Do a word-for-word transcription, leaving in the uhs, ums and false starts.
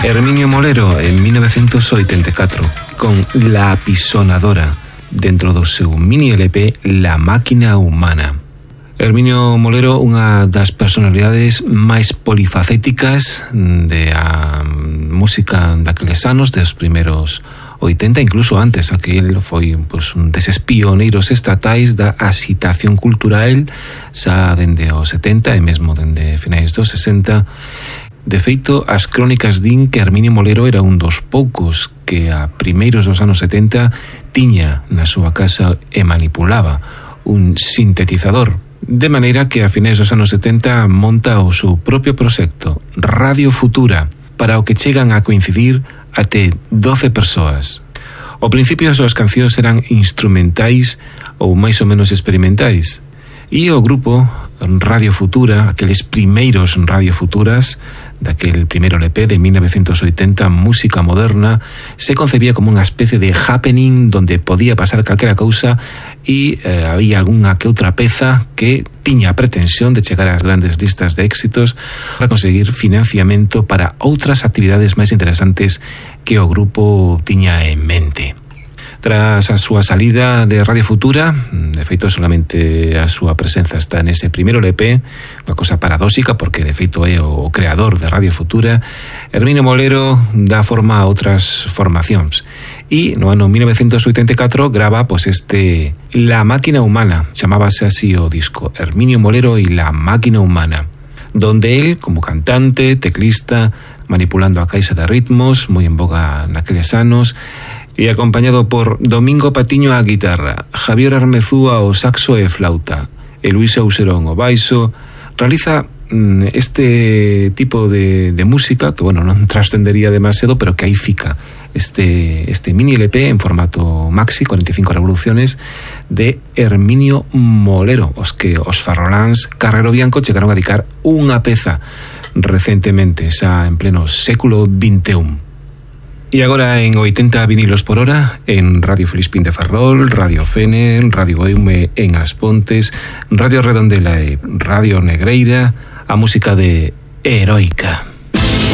Herminio Molero en mil novecientos oitenta e catro con La Apisonadora dentro do seu mini L P La Máquina Humana. Herminio Molero, unha das personalidades máis polifacéticas de a música daqueles anos, dos primeiros oitenta, incluso antes, aquel foi pues, un deses pioneiros estatais da agitación cultural xa dende os setenta e mesmo dende finais dos sesenta. De feito, as crónicas din que Herminio Molero era un dos poucos que a primeiros dos anos setenta tiña na súa casa e manipulaba un sintetizador, de maneira que a finais dos anos setenta monta o seu propio proxecto, Radio Futura, para o que chegan a coincidir até doce persoas. Ao principio as súas cancións eran instrumentais ou máis ou menos experimentais, e o grupo Radio Futura, aqueles primeiros Radio Futuras, daquel primeiro L P de mil novecientos oitenta, Música Moderna, se concebía como unha especie de happening donde podía pasar calquera cousa e eh, había algunha que outra peza que tiña a pretensión de chegar ás grandes listas de éxitos para conseguir financiamento para outras actividades máis interesantes que o grupo tiña en mente. Tras a súa salida de Radio Futura, de feito solamente a súa presenza está nese primeiro L P, unha cosa paradóxica porque de feito é o creador de Radio Futura, Herminio Molero dá forma a outras formacións e no ano mil novecientos oitenta e catro grava pois este La Máquina Humana, chamábase así o disco, Herminio Molero y La Máquina Humana, donde él, como cantante, teclista, manipulando a caixa de ritmos, moi en boga naqueles anos, e acompañado por Domingo Patiño á guitarra, Javier Armezúa ao saxo e flauta, e Luis Auserón ao baixo, realiza este tipo de, de música que, bueno, non trascendería demasiado, pero que aí fica este, este mini L P en formato maxi, cuarenta y cinco revoluciones, de Herminio Molero, os que os farroláns Carrero Bianco chegaron a dedicar unha peza recentemente, xa en pleno século vinte e un. E agora en oitenta vinilos por hora, en Radio Filispín de Ferrol, Radio Fene, Radio Eume en As Pontes, Radio Redondela e Radio Negreira, a música de Heroica.